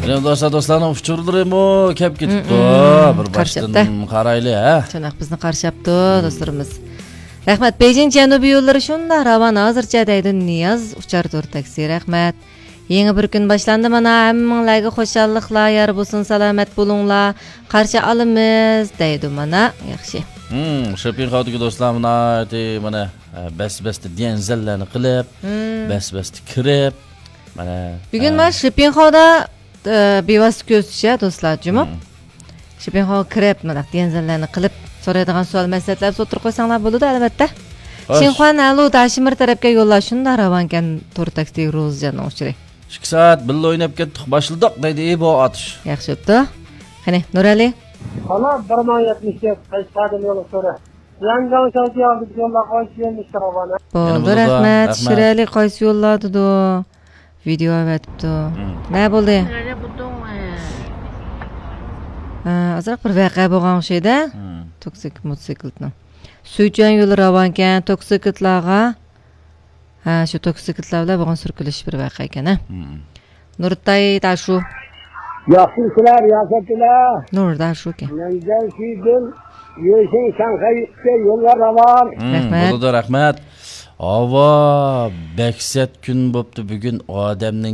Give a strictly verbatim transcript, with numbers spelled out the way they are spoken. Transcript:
يەنە دوستلار، دوستلارنىڭ ئۇچۇرلىرىمۇ كەپ كېتىپتۇ. مم، بىر باشتىن قارشاپتۇ. قارايلى، ھە؟ شۇنداق، بىزنى قارشاپتۇ، مم، دوستلىرىمىز. رەھمەت. بېيجىڭ جەنۇبىي يوللىرى شۇنداق راۋان، ھازىرچە دەيدۇ نىياز ئۇچار تور تاكسى. رەھمەت. يېڭى بىر كۈن باشلاندى مانا، ھەممىڭلارگە خۇشاللىقلار يار بولسۇن، سالامەت بولۇڭلار، قارشى ئالىمىز دەيدۇ مانا. ياخشى. مم، شېپىڭخاۋدىكى دوستلار ناھايىتى مانا، ئە، بەس-بەستە ديەنزەنلەرنى قىلىپ، مم، بەس-بەستە كىرىپ، مانا، بۈگۈن ئە، مانا شېپىڭخاۋدا، ئە، بىۋاسىتە كۆزىتىش، ھە، دوستلار، جۇمۇ؟ مم. شېپىڭخاۋغا كىرىپ، مانا ديەنزەنلەرنى قىلىپ، سورايدىغان سوئال مەسلىھەتلەر بولسا ئوتتۇرىغا قويساڭلار بولىدۇ، ئەلۋەتتە. خوش. شىنخۇەن ھەلۇ داشىمىر تەرەپكە يوللار شۇنداق راۋانكەن، تور تاكسى روزىجاننىڭ ئۇچۇرى. ئىككى سائەت بىللە ئويناپ كەتتۇق، باشلىدۇق دەيدۇ، ئى، بۇ ئاتۇش. ياخشى بوپتۇ. قېنى، نۇرئەلى؟ خالا بىر مىڭ يەتمىش تۆت، قەشقەردىن يول ئۇچۇرى. يەنگاڭ شاڭجياڭ بىز يوللار قويۇش يۆنىلىشى راۋانە. بولدى، يەنە بولىدۇ، رەھمەت. رەھمەت. شىرئەلى قايسى يوللاردىدۇ؟ ۋىدېئو ئەۋەتىپتۇ. مم. نە بولدى؟ ھە، ئازراق بىر ۋەقە بولغان ئوخشايدۇ. مم. توكسىك موتوسىكلىتنىڭ. سۈيچۈەن يولى راۋانكەن، توكسىكلىتلارغا. ھە، شۇ توكسىكلىتلار بىلەن بولغان سۈركىلىش بىر ۋەقە ئىكەن، ھە. مم. نۇرتاي تاشۇ. ياخشىمۇسىلەر، رىياسەتچىلەر؟ نۇر تاشۇكەن. مەنزەر شىدىن، يۈشىڭ شاڭخەيگە يوللار راۋان. مم، رەھمەت. بولىدۇ، رەھمەت. ھاۋا بەك سەت كۈن بوپتۇ بۈگۈن، ئادەمنىڭ